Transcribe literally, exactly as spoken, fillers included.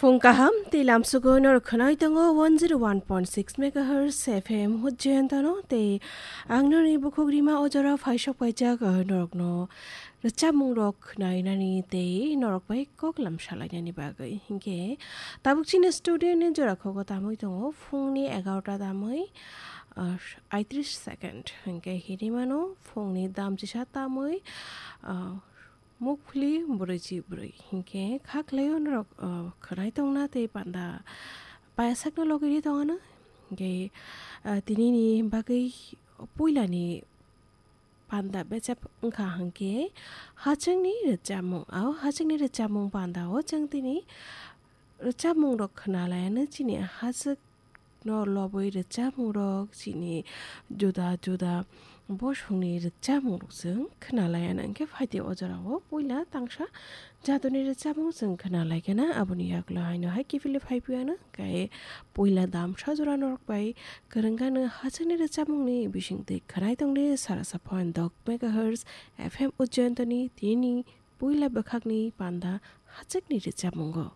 Phung kaham, tei lamsugo norok khwnai tongo one zero one point six megahertz F M Hujjayantano, tei ang nini bukhuk rima ojora phaisok paijak, ah, norokno rwchapmung rok khwnainani tei norok bai kok lam salainani bagwi. Hinkhe tabuk chini studio ni jora khogo tamwi tongo phungni egarota tamwi, ah, aitris second. Hinkhe hinwi mano phungni dam chisa tamwi, ah, mukphli brwichi brwi. Hinkhe kha khlaio norok, ah, khwnai tongna tei panda payasakno logiri tongana. Hinkhe, ah, tinini bagwi puilani panda bechep wngkha hinkhe hachwkni rwchapmung. O hachwkni rwchapmung panda o chwng tini rwchapmung rok khwnalaiano chini hachwk no lobwi rwchapmung rok chini juda juda bosongni rwchapmung rok chwng khwnalaiana. Hinkhe phaidi o jorao puila tangsa jatoni rwchapmung chwng khwnalaikana, aboni yagulo haino hai kiphilwi phaiphiyana. Hinkhe puila damsa jora norok bai kwrwngano hachwkni rwchapmungni bisingtwi khwnai tongdi sarasa point dok megahertz F M Ujjayantani tini puila bwkhakni panda hachwkni rwchapmungo.